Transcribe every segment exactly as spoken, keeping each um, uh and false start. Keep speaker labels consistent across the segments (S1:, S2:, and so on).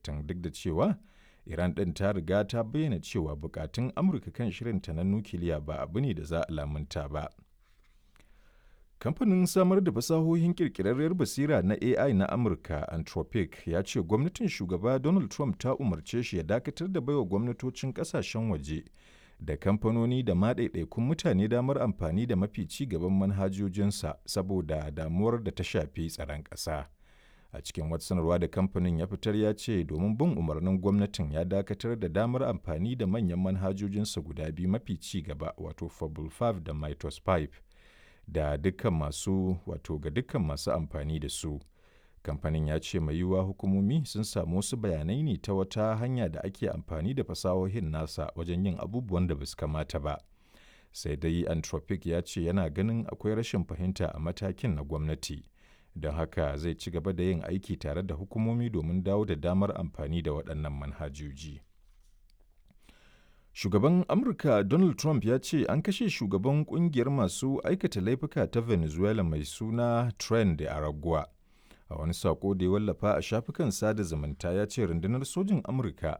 S1: sittin duk da cewa Iran ɗin ta riga ta bayyana cewa bukatun Amurka kan shirinta na nukiliya ba abu ne da za a lamunta ba. Kamfanin samar da fasahohin ƙirƙirarriyar basira na A I na Amurka, Anthropic, ya ce gwamnatin Shugaba Donald Trump ta umarce shi ya dakatar da baiwa gwamnatocin ƙasashen waje da kamfanoni da ma ɗaiɗaikun mutane damar amfani da mafi ci gaban manhajojinsa saboda damuwar da ta shafi tsaron ƙasa. A cikin wata sanarwa da kamfanin ya fitar, ya ce domin bin umarnin gwamnatin, ya dakatar da damar amfani da manyan manhajojinsa guda biyu mafi ci gaba, wato Fable biyar da Mythos biyar, da dukkan masu wato ga dukkan masu amfani da su. Kamfanin ya ce mai yiwuwa hukumomi sun samu wasu bayanai ne ta wata hanya da ake amfani da fasahohin nasa wajen yin abubuwan da basu kamata ba. Sai dai Anthropic ya ce yana ganin akwai rashin fahimta a matakin na gwamnati, don haka zai ci gaba da yin aiki tare da hukumomi domin dawo da damar amfani da waɗannan manhajoji. Shugaban Amurka Donald Trump ya ce an kashe shugaban kungiyar masu aikata laifuka ta Venezuela mai suna Tren de Aragua. A wani sako da ya wallafa a shafukan sada zumunta, ya ce rundunar sojin Amurka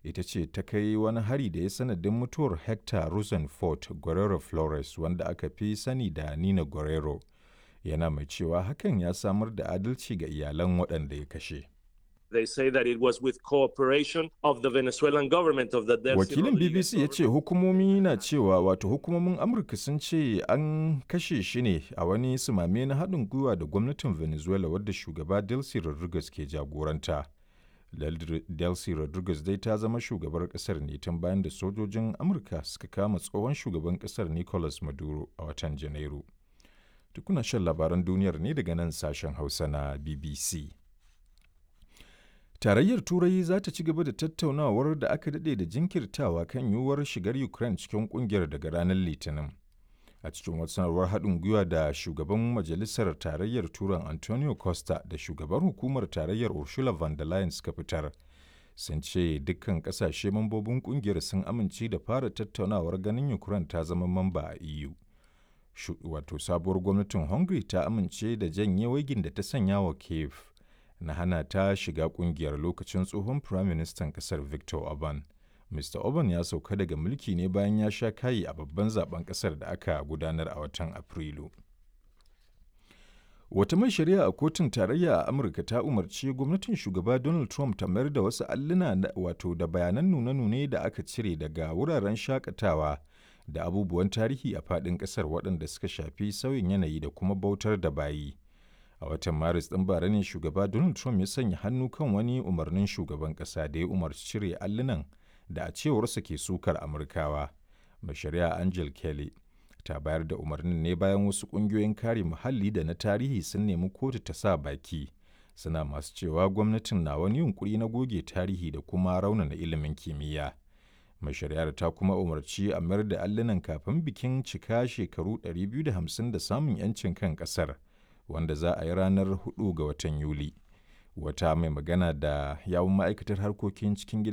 S1: ita ce ta kai wani hari da ya sanadin mutuwar Hector Rosenfort Guerrero Flores, wanda aka fi sani da Nina Guerrero. Yana mai cewa hakan ya samar da adalci ga iyalan waɗanda ya kashe.
S2: They say that it was with cooperation of the Venezuelan government, of the Delcy
S1: Wakilin
S2: Rodriguez
S1: B B C ya ce hukumomi na cewa, wato hukumomin Amurka sun ce an kashe shi ne a wani sumame na haɗin gwiwa da gwamnatin Venezuela wadda shugaba Delcy Rodriguez ke jagoranta. Delcy Rodriguez dai ta zama shugabar ƙasar ne tun bayan da sojojin Amurka suka kama tsohon shugaban ƙasar Nicolas Maduro a watan Janairu. Tukuna shan labaran duniyar ne daga nan sashen Hausa na B B C. Tarayyar Turai za ta ci gaba da tattaunawar da aka daɗe da jinkirtawa kan yiwuwar shigar Ukraine cikin ƙungiyar daga ranar Litinin. A cikin wata sanarwar haɗin gwiwa da shugaban Majalisar Tarayyar Turan Antonio Costa da shugaban Hukumar Tarayyar Ursula von der Leyen suka fitar, sun ce dukkan ƙasashe mambobin ƙungiyar sun amince da fara tattaunawar ganin Ukraine ta zama mamba a E U. Wato sabuwar gwamnatin Hungary ta amince da janye waigin da ta sanya wa Kiev na hana ta shiga kungiyar lokacin tsohon firaministan kasar Viktor Orban. Mister Orban ya sauka daga mulki ne bayan ya sha kayi a babban zaben kasar da aka gudanar a watan Afrilu. Wata mai shari'a a kotun tarayya a Amurka ta umarci gwamnatin shugaba Donald Trump ta mayar da wasu alluna, wato da bayanan nune-nune da aka cire daga wuraren shakatawa da abubuwan tarihi a faɗin ƙasar waɗanda suka shafi sauyin yanayi da kuma bautar da bayi. A watan Maris ɗin bara ne shugaba Donald Trump ya sanya hannu kan wani umarnin shugaban ƙasa da ya umarci cire allunan da a cewarsa ke sukar Amurkawa. Mai shari'a Angel Kelly ta bayar da umarnin ne bayan wasu ƙungiyoyin kare muhalli da na tarihi sun nemi kotu ta sa baki, suna masu cewa gwamnatin na wani yunkuri na goge tarihi da kuma raunana ilimin kimiyya. Mai shari'ar ta kuma umarci a mayar da allunan kafin bikin cika shekaru ɗari biyu da hamsin da samun 'yancin kan ƙasar, wanda za a yi ranar huɗu ga watan Yuli. Wata mai magana da yawun ma'aikatar harkokin cikin gida